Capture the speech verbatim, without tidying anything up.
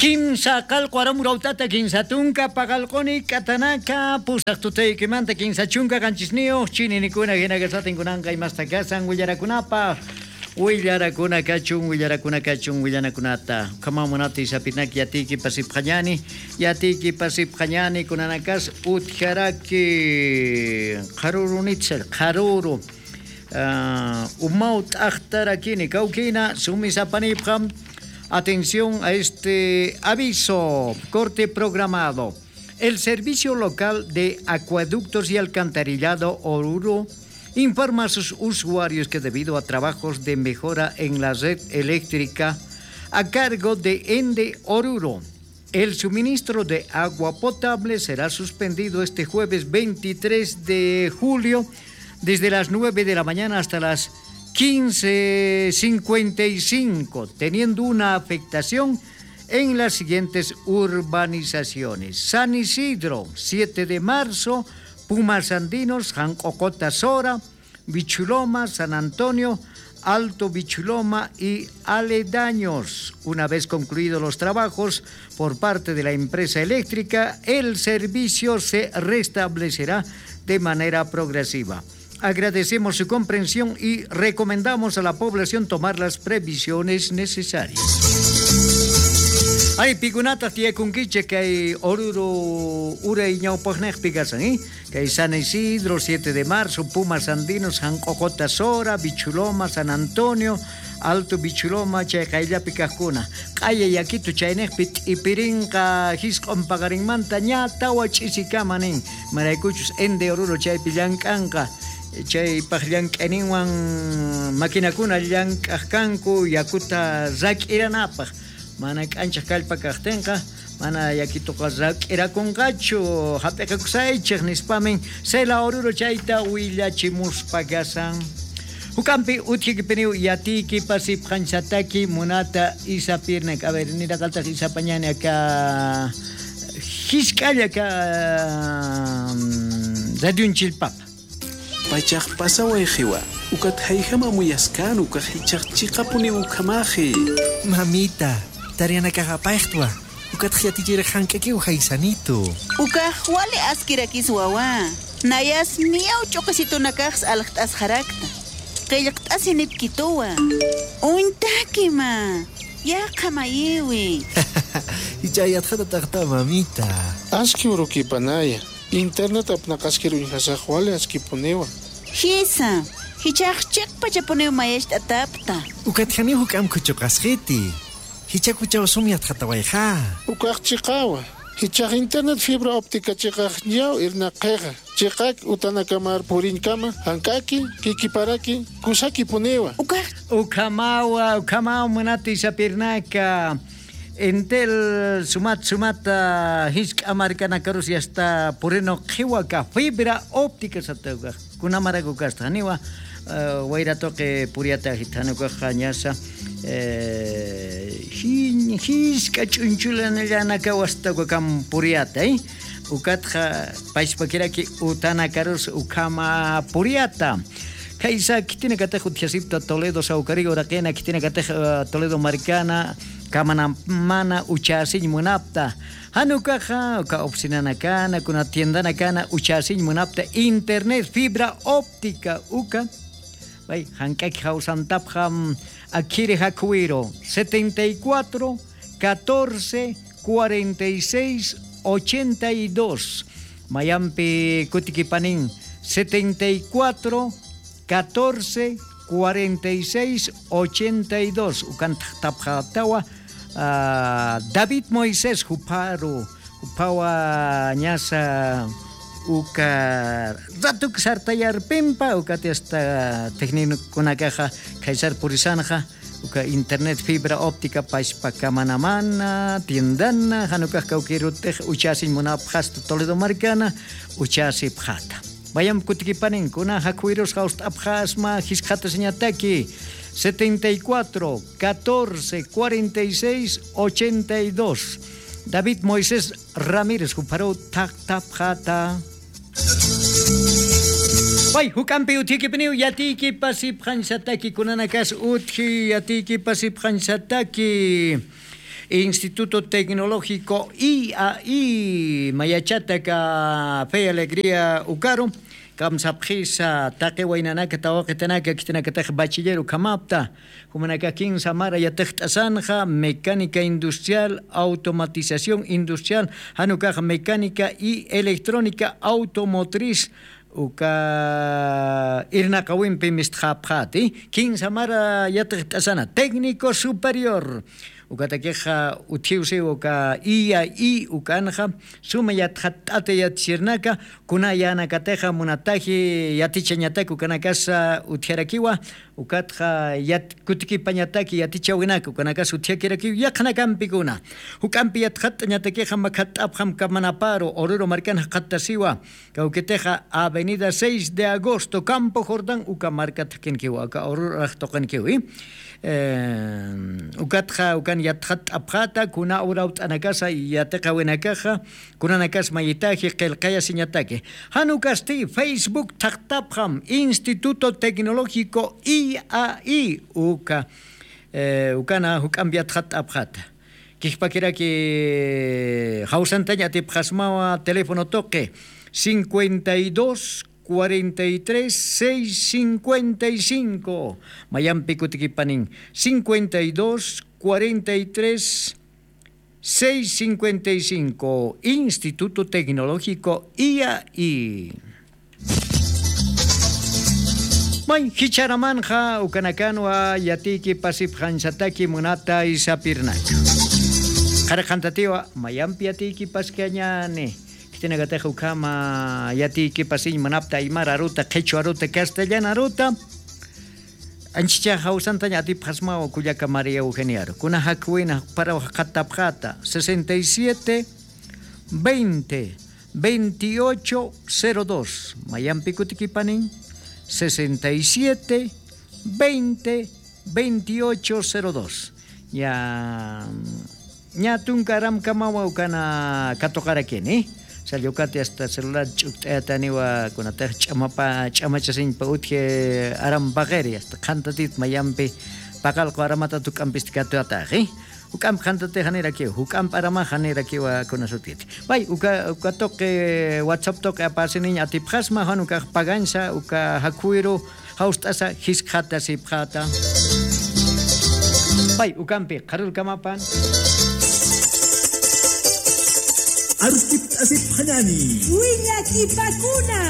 Kimsa qallqu arum rawt'ata kimsa tunka paqallquni k'atanaka, pusaq tutaykimanta kimsa chunka qanchisniyux chininikuna jinakasatin kunanqa imastakasan willarakunapaq. Willarakuna kachun, willarakuna kachun, willanakunata. Ukhamaw munata isapirnak yatiyki pasipxañani, yatiyki pasipxañani kunanakas utjaraki qharurunitsa, qharuru. Ah, umaw t'aqtarakini, kawkina, sumisapanipxam. Atención a este aviso, corte programado. El Servicio Local de Acueductos y Alcantarillado Oruro informa a sus usuarios que debido a trabajos de mejora en la red eléctrica a cargo de Ende Oruro, el suministro de agua potable será suspendido este jueves veintitrés de julio desde las nueve de la mañana hasta las quince cincuenta y cinco, teniendo una afectación en las siguientes urbanizaciones: San Isidro, siete de marzo, Pumas Andinos, Janq'oqota Sora, Bichuloma, San Antonio, Alto Bichuloma y aledaños. Una vez concluidos los trabajos por parte de la empresa eléctrica, el servicio se restablecerá de manera progresiva. Agradecemos su comprensión y recomendamos a la población tomar las previsiones necesarias. Ay, pikunataq tiyakunkichik kay Oruro uray ñawpaqnaqpi kasan, ¿eh? Kay San Isidro, siete de marzo, Pumas Andinos, Janq'oqota Sora, Bichuloma, San Antonio, Alto Bichuloma, chay qayllapi kaqkuna. Q'aya yakitu chaynaqpi t'ipirinqa jisq'un paqarinmanta ña tawa ch'isikama nin. Maraykuchus Ende Oruro chaypi llank'anqa, chaypaq llank'ayninwan maquinakuna llank'aq kanku yakuta rak'iranapaq. Mana k'anchaq kallpa kaqtinqa, mana yakituqa rak'irakunqachu, jap'iqakusaychix nispamin, sela Oruro chayta willachimuspa kasan. Juk'ampi utjikipiniw yatiyki pasipxañsataki munata isapirnak. A ver, niraqaltaq isapañani aka jisk'alla aka, mm, radionchillpapa. Pachax pasawayxiwa, ukat jayjam amuyaskan, ukax jichhax chiqapuniw ukhamaxi. Mamita, tareanakax apayxtwa, ukatx yatichirix jank'akiw jaysanitu. Ukax wali askirakis wawa, nayas miyaw ch'uqisitunakax aljt'asxarakta. Qillqt'asinipkituwa. Uñtakima, yaqha mayiwi. Jichha yatxatataqta, mamita. Aski urukipanaya. Internet apnaqaskir uñjasax wali askipuniwa. Jisa, jichhax chiqpachapuniw mayacht'atapta. Ukat janiw juk'amp khuchuqasxiti. Jichhakuchaw sum yatxatawayxa. Ukax chiqawa. Jichhax internet fibra óptica chiqax ñaw irnaqxixa. Chiqak utanakamar puriñkama, jank'aki, kikiparaki, kusakipuniwa. Ukax. Ukhamawa, ukhamaw munati sapirnaka. Entel sumat, sumat, ah, jisk'a markanakarus yasta purinu qhiwaka fibra óptica satawkax. Kunamaraku kasta, janiwa, ah, wayra tuqi puriyata jithanukaxa ñasa, eh, jin-, jisk'a ch'unchulanallanakaw astawkakam puriyata, eh. Ukatxa pachpakiraki utanakarus ukhama puriyata. Khaysa khitinakatix utjasipta Toledo sawkariw uraqina, khitinakatix, eh, Toledo markana, kamanamana uchasiñ munapta. Jan ukaxa, uka oficinanakana, kuna tiendanakana uchasiñ munapta internet fibra óptica uka. Bay, jank'aki jawsantapxam, akhiri jakhuwiru, setenta y cuatro, catorce, cuarenta y seis, ochenta y dos. Mayampi kutikipanin, setenta y cuatro, catorce, cuarenta y seis, ochenta y dos. Ukan thaqtapxatawa, ah, David Moisés jupharu, juphawa ñasa uka ratuk sartayarpimpa, ukati hasta técnicokunakaxa khaysar purisanxa, uka internet fibra óptica pachpa kamanamana, tiendana, jan ukax kawkirutix uchasiñ munapxasta Toledo markana, uchasipxata. Mayamp kutikipanin, kuna jakhwirus jawst'apxasma, jiskt'asiñataki, setenta y cuatro, catorce, cuarenta y seis, ochenta y dos. David Moisés Ramírez, jupharu thaqtapxata. Way, juk'ampi utjikipiniw, yatiykipasipxañsataki, kunanakas utji, yatiykipasipxañsataki. Instituto Tecnológico I A I mayachataka fe alegría ukaru kamsapxisa taqi waynanaka tawaqitanaka khitinakatax bachiller ukhamapta. Jumanaka kinsa mara yatixt'asanxa mecánica industrial, automatización industrial, janukax mecánica y electrónica automotriz. Uka irnaqawimpi mistxapxati kinsa mara yatixt'asana técnico superior. Ukatakixa utjiwsiw uka iya i ukanxa suma yatxatt'ata yatichirnaka kuna yanakatixa munataji yatichañatak ukanakasa utjarakiwa. Ukatxa yat kutikipañataki yatichawinaka ukanakasa utjakirakiw yaqnakampikuna. Juk'ampi yatxatt'añatakixa makhatt'apxam kamanaparu oruru markan jaqattasiwa. Kawkitixa avenida seis de agosto campo jordán uka markat jakinkiwa aka oruru arajtuqinkiwi. Ukatxa ukan yatxatt'apxata kuna urawt'anakasa yatiqawinakaxa kunanakas mayitaji qillqayasiñataki. Jan ukasti facebook thaqtapxam instituto tecnológico i a i uka. Ukana juk'ampi yatxatt'apxata. Kijpakiraki jawsantañ atipxasmawa teléfono tuqi cincuenta y dos cuarenta y tres seis cincuenta y cinco. Mayampi kutikipanin cincuenta y dos cuarenta y tres seis cincuenta y cinco. Instituto Tecnológico I A I. May jichharamanxa ukanakanwa yatiyki pasipxañsataki munata isapirnaka. Qharqantatiwa mayampi yatiyki paskañani. Khitinakatax ukhama yatiyki pasiñ munapta aymar aruta qhichwa aruta castellan aruta. Anchicha jawsantañ atipxasmawa kullaka maría eugeniaru kuna jakhuwina jaqparaw jaqattapxata sesenta y siete veinte veintiocho cero dos. Mayampi kutikipanin sesenta y siete veinte veintiocho cero dos. Ña ña tunka aramkamawa ukana katuqarakini. Sallukati asta celular ch'ukt'ayataniwa kunatax ch'amapa ch'amachasiñpa utji aram paqiri asta qhantatit mayampi paqalqu aramatata juk'ampisti katuwataxi. Juk'amp qhantatix janirakiw juk'amp aramax janirakiwa kunasutkiti. Pay uka uka tuqi whatsapp tuqi apasiniñ atipxasma jan ukax pagañsa uka jakhuwiru jawst'asa jiskxatasipxata. Pay ukampi qharurkamapan. Aruskipt'asipxañani wiñakipakuna.